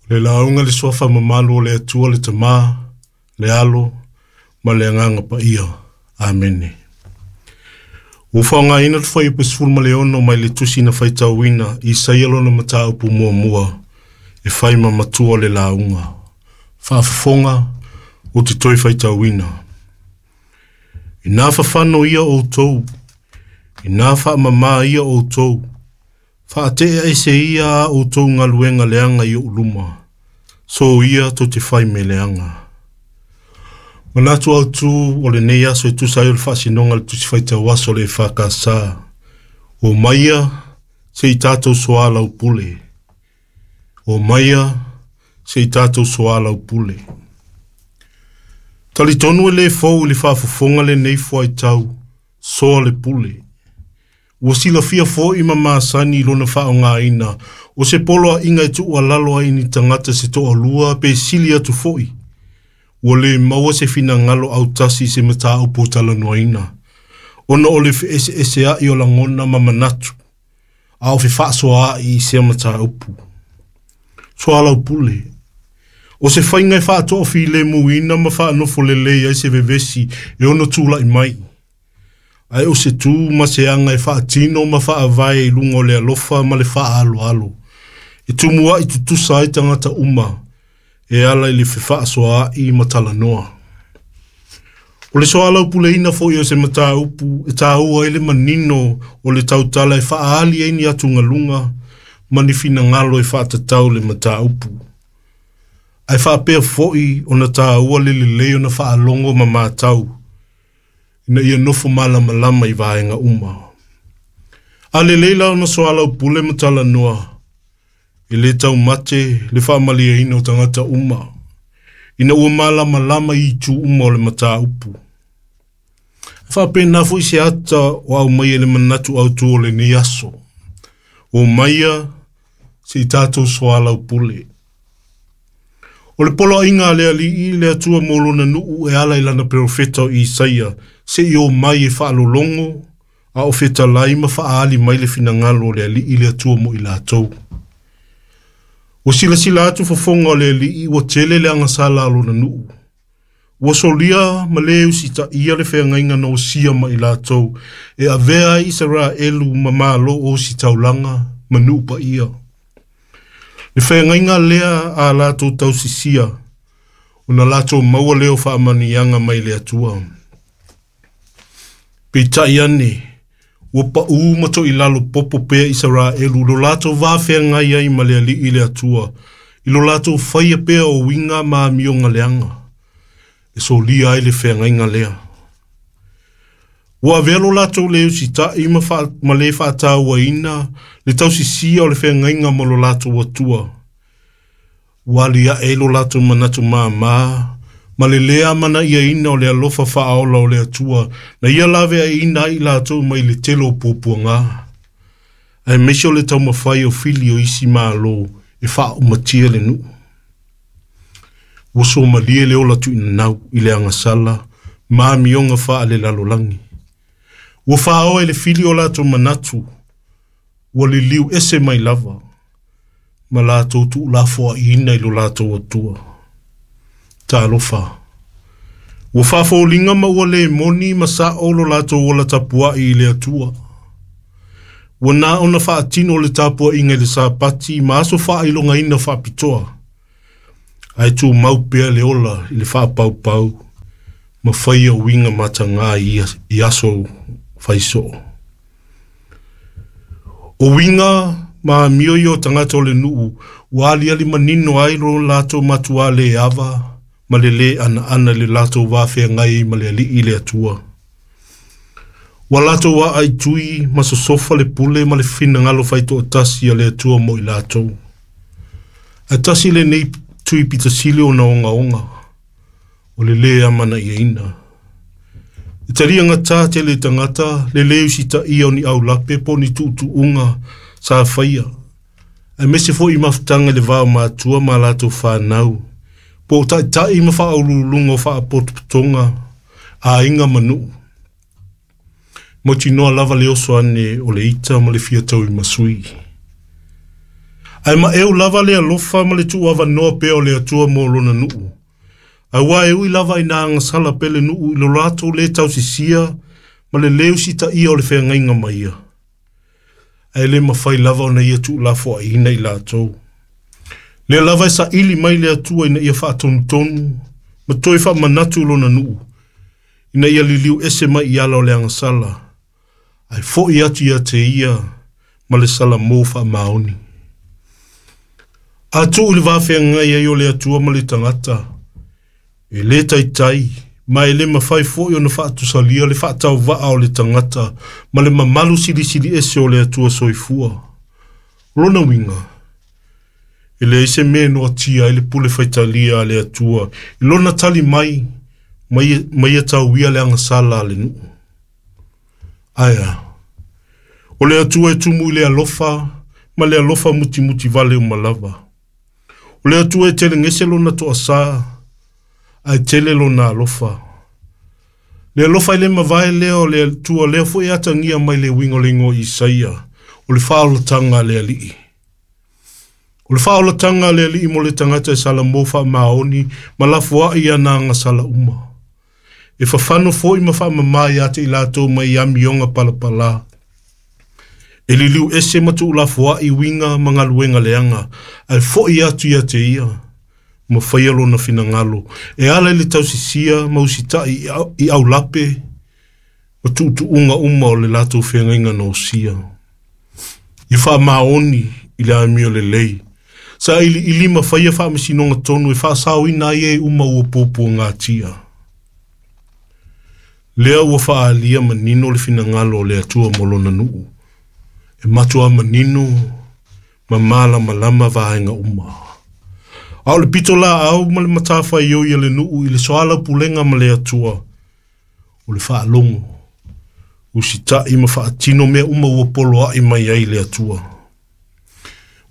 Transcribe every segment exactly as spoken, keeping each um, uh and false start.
Le lauga le suafa mamalu o le Atua le Tama, le Alo, ma le Agaga Paia. Amene. Ua faaaogaina le fuaiupu sefulu ma le ono mai le tusi na faitauina Isaia lona mataupu muamua e fai ma matua o le lauga. Faafofoga ou te toe faitauina. Ina fafano ia outou, ina faamama ia outou, faatea ese ia a outou galuega leaga i ou luma, so ia tou te fai mea leaga. Manatu autu o lenei aso e tusa ai o le faasinoga le tusi faitau aso o le E F K S. O maia se i tatou soalaupule. O maia se i tatou soalaupule. Talitonu e le fou i le faafofoga lenei fuaitau, soa le pule. Ua silafia foi ma masani i lona faaaogaina, o se poloaiga e tuualalo ai ni tagata se toalua pe sili atu foi. Ua le maua se finagalo autasi i se mataupu o talanoaina, ona o le feeseeseai o lagona ma manatu, a o fefaasoaai i sea mataupu. Soalaupule. O se faiga e faatoafilemuina ma faanofo lelei ai se vevesi e ono tulai mai. Ae o se tu ma se aga e faatino ma faavae i luga o le alofa ma le faaaloalo. E tumuai tutusa ai tagata uma e ala i le fefaasoaai ma talanoa. O le soalaupuleina foi o se mataupu e taua ai le manino o le tautala e faaali ai ni atugaluga ma ni finagalo e faatatau le mataupu. Ae faapea foi ona taua le lelei ona faalogo ma matau, ina ia nofo malamalama i vaega uma. A lelei la ona soalaupule ma talanoa, e le taumate le faamalieina o tagata uma, ina ua malamalama i itu uma o le mataupu. E faapena foi se ata o aumaia i le manatu autu o lenei aso. O maia se i tatou soalaupule. O le poloaiga a le Alii le Atua mo lona nuu e ala i lana perofeta o Isaia, se i o mai e faalologo, a o fetalai ma faaali mai le finagalo o le Alii le Atua mo i latou. Ua silasila atu fofoga o le Alii ua tele le agasala a lona nuu. Ua solia ma le usitaia le feagaiga na osia ma i latou e avea ai Isaraelu ma malo ositaulaga ma nuu paia. Le feagaiga lea a latou tausisia, ona latou maua lea o faamanuiaga mai le Atua. Peitai ane, ua pau ma toilalo popo pea Isaraelu lo latou va feagai ai ma le Alii le Atua, i lo latou faia pea o uiga ma amioga leaga, e solia ai le feagaiga lea. Ua avea lo latou le usitai ma, fa, ma le faatauaina le tausisia o le feagaiga ma lo latou Atua. Ua aliae ai lo latou manatu māmā, ma le le amanaiaina o le alofa faaola o le Atua, na ia laveaiina ai i latou mai le tele o puapuaga. Aemaise o le taumafai o fili o isi malo e faaumatia le nuu. Ua somalie le ola tuinanau i le agasala ma amioga faalelalolagi. Ua faaoa i le fili o latou manatu, ua liliu ese mai lava, ma latou tuulafoaiina i lo latou Atua. Talofa. Ua faafoliga ma ua le moni ma sao lo latou ola tapuai i le Atua. Ua na ona faatino le tapuaiga i le Sapati ma aso faailogaina faapitoa. Ae tumau pea le ola i le faapaupau ma faia uiga mataga i, i aso faisoo. O uiga ma amio ia o tagata o le nuu, ua aliali manino ai lo latou matua le ava ma le le anaana i le latou va feagai ma le Alii le Atua. Ua latou aai tui ma sosofa le pule ma le finagalo faitoatasi a le Atua mo i latou. Ae tasi lenei tui pitasili ona ogaoga, o le le amanaiaina. E talia gata tele tagata, le le usitaia o ni aulape po o ni tuutuuga sa faia. Aemaise foi i mafutaga i le va o matua ma latou fanau, po o taitai ma faauluuluga o faapotopotoga, aiga ma nuu. Mautinoa lava le oso ane o le ita ma le fia tauimasui. Ae maeu lava le alofa ma le tuuavanoa pea o le Atua mo lona nuu. Auā e ui lava ina agasala pea le nuu i lo latou lē tausisia ma le lē usitaia o le feagaiga ma ia. Ae lē mafai lava ona ia tuulafoaiina i latou. Lea lava e saili mai le Atua ina ia faatonutonu ma toe faamanatu i lona nuu, ina ia liliu ese mai i ala o le agasala, ae fo'i atu ia te ia ma le salamo faamaoni. A tuu i le vafeagai ai o le Atua ma le tagata, e lē taitai, ma e lē mafai foi ona faatusalia le faatauvaa o le tagata ma le mamalu silisili ese o le Atua soifua. O lona uiga, e leai se mea e noatia ai le pule faitalia a le Atua i lona tali mai ma ia tauia le agasala a le nuu. Ae a, o le Atua e tumu i le alofa ma le alofa mutimuti vale uma lava. O le Atua e telegese lona toasā, ae tele lona alofa. Le alofa i le mavae lea o le Atua lea foi e atagia mai le uiga o le igoa o Isaia, o le faaolataga a le Alii. O le faaolataga a le Alii mo le tagata e salamo faamaoni ma lafoai i ana agasala uma. E fafano foi ma faamamā ia te i latou mai amioga palapalā. E liliu ese ma tuulafoai uiga ma galuega leaga, ae fo'i atu ia te ia, ma faia lona finagalo, e ala i le tausisia ma usitai i aulape ma tuutuuga uma o le latou feagaiga na osia. Ia faamaoni i le amio lelei, sailiili ma faia faamasinoga tonu e faasaoina ai e uma ua puapuagatia. Lea ua faaalia manino le finagalo o le Atua mo lona nuu, e matua manino ma malamalama vaega uma. A o le pito laau ma le matafaioi a le nuu i le soalaupulega ma le Atua, o le faalogo, usitai ma faatino mea uma ua poloai mai ai le Atua.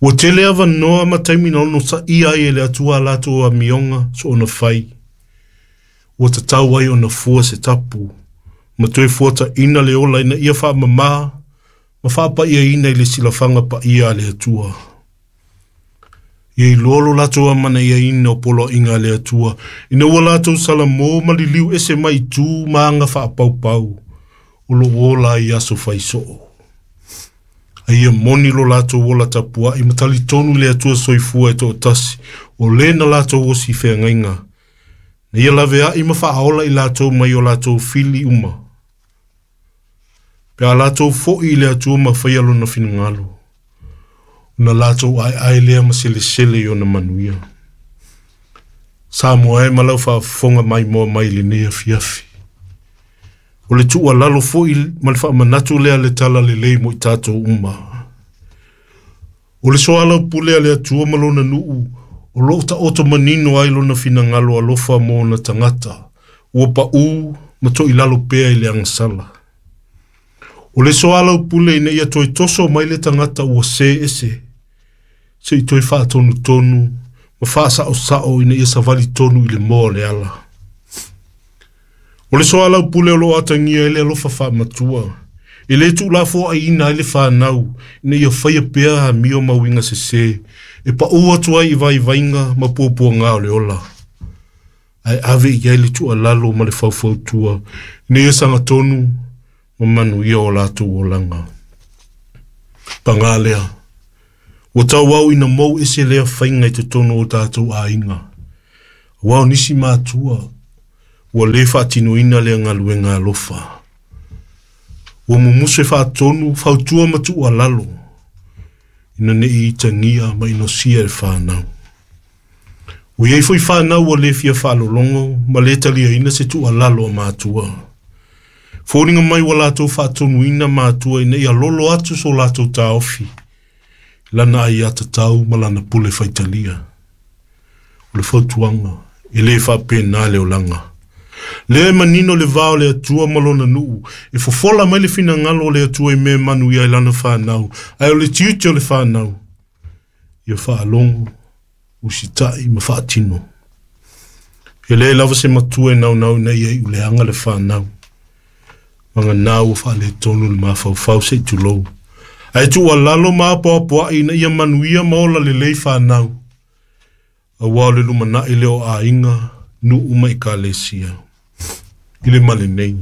Ua tele avanoa ma taimi na onosaia ai e le Atua a latou amioga soona fai. Ua tatau ai ona fua se tapu, ma toe fuataina le ola ina ia faamamā ma faapaiaina i le silafaga paia a le Atua. Ia iloa lo latou amanaiaina o poloaiga a le Atua, ina ua latou salamo ma liliu ese mai i tu ma aga faapaupau, o loo ola ai i aso faisoo. Ae ia moni lo latou ola tapuai ma talitonu i le Atua soifua e toatasi, o lē na latou osi i feagaiga, na ia laveai ma faaola i latou mai o latou fili uma. Pe a latou fo'i i le Atua ma faia lona finagalo, ona latou aeae lea ma selesele i ona manuia. Samoa e ma lau faafofoga maimoa mai i lenei afiafi. O le tuualalo foi ma le faamanatu lea le tala lelei mo i tatou uma. O le soalaupule a le Atua ma lona nuu, o loo taoto manino ai lona finagalo alofa mo ona tagata, ua paū ma toilalo pea i le agasala. O le soalaupule ina ia toe toso mai le tagata ua se ese, se'i toe faatonutonu ma faasaosao ina ia savali tonu i le moa o le ala. O le soalaupule o loo atagia ai le alofa faamatua, e lē tuulafoaiina ai le fanau ina ia faia pea amio ma uiga sesē, e paū atu ai i vaivaiga ma puapuagā o le ola. Ae ave i ai le tuualalo ma le faufautua, ina ia sagatonu ma manuia o latou olaga. Pagā lea, ua tauau ina mou ese lea faiga i totonu o tatou aiga. Auā o nisi matua, ua lē faatinoina lea galuega alofa. Ua mumusu e faatonu, fautua ma tuualalo, ina nei itagia ma inosia e fanau. Ua iai foi fanau ua lē fia faalologo ma lē taliaina se tuualalo a matua. Foliga mai ua latou faatonuina matua ina ia lolo atu so latou taofi, lana aiatatau ma lana pule faitalia. O le fautuaga, e lē faapenā le olaga. Lea e manino le va o le Atua ma lona nuu, e fofola mai le finagalo o le Atua i mea e manuia ai lana fanau, ae o le tiute o le fanau, ia faalogo, usitai ma faatino. E leai lava se matua e naunau ina ia iuleaga le fanau. Maganā ua faaletonu le mafaufau se'i tulou. Ae tuualalo ma apoapoai ina ia manuia ma ola lelei fanau. Auā o le lumanaʻi lea o aiga, nuu ma ekalesia. I le ma lenei.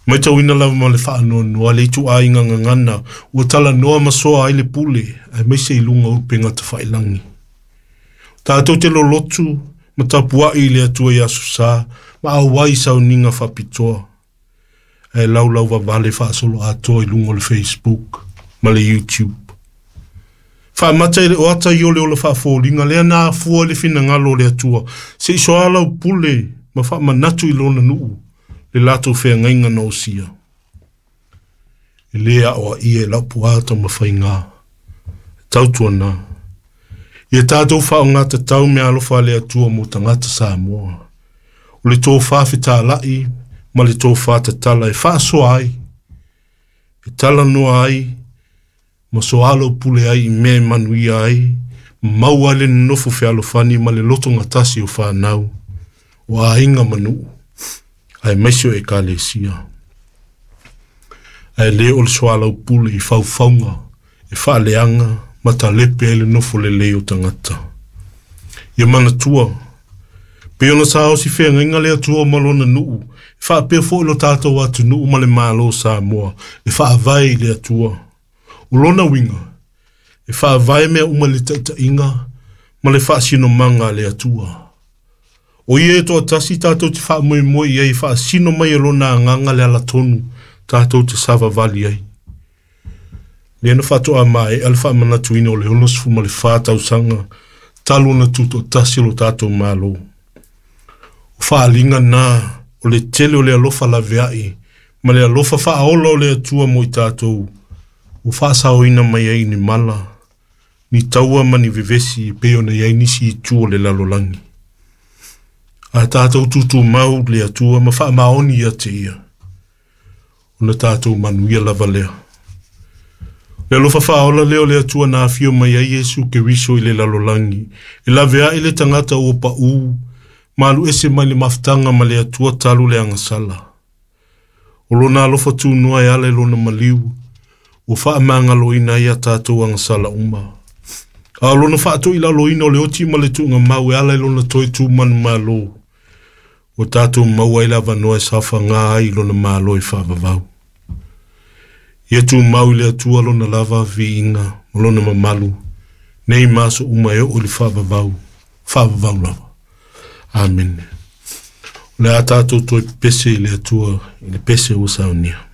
Matauina lava ma le faanoanoa le ituaiga gagana ua talanoa ma soa ai le pule aemaise i luga o upega tafailagi. Tatou te lolotu ma tapuai i le Atua i aso sa ma auai i sauniga faapitoa. Ae laulau vavale faasoloatoa i luga o le Facebook ma le YouTube. Faamata i le oata i o le ola faafoliga lea na afua i le finagalo o le Atua seʻi soalaupule ma faamanatu i lona nuu le latou feagaiga na osia. E lē aoaia e lau puā taumafaiga. Tautuana. Ia tatou faaaogatatau meaalofa a le Atua mo tagata Samoa. O le tofā fetālaʻi ma le tofā tatala e faasoa ai, e talanoa ai, ma soalaupule ai i mea e manuia ai, maua ai le nonofo fealofani ma le lotogatasi o fanau, o aiga ma nuu, aemaise o ekalesia. Ae lē o le soalaupule i faufauga e faaleaga ma talepe ai le nofo lelei o tagata. Ia manatua, pei ona saosi feagaiga le Atua ma lona nuu, e faapea foʻi lo tatou atunuu ma le Malo o Samoa, e faavae i le Atua. O lona uiga, e faavae mea uma i le taitaiga ma le faasinomaga a le Atua. O ia e toatasi tatou te faamoemoe i ai e faasino mai e lona agaga le alatonu tatou te savavali ai. Lea na faatoa maea le faamanatuina o le onosefulu ma le fa tausaga talu ona tutoatasi lo tatou Malo. O faaaliga na o le tele o le alofa laveai ma le alofa faaola o le Atua mo i tatou ua faasaoina mai ai ni mala, ni taua ma ni vevesi e pei ona i ai nisi itu o le lalolagi. A tatou tutumau le Atua ma faamaoni ia te ia, ona tatou manuia lava lea. Le alofa faaola lea o le Atua na afio mai ai Iesu Keriso i le lalolagi, e laveai le tagata ua paū, ma aluese mai le mafutaga ma le Atua talu le agasala. O lona alofa tunoa e ala i lona maliu, ua faamagaloina ai a tatou agasala uma. A o lona faatoilaloina o le oti ma le tuugamau e ala i lona toe tu manumalo, ua tatou maua ai le avanoa e saofagā ai i lona malo e faavavau. Ia tumau i le Atua lona lava viiga ma lona mamalu, nei ma aso uma e oo i le faavavau, faavavau lava. Amene. O le a tatou toe pepese i le Atua i le pese ua saunia.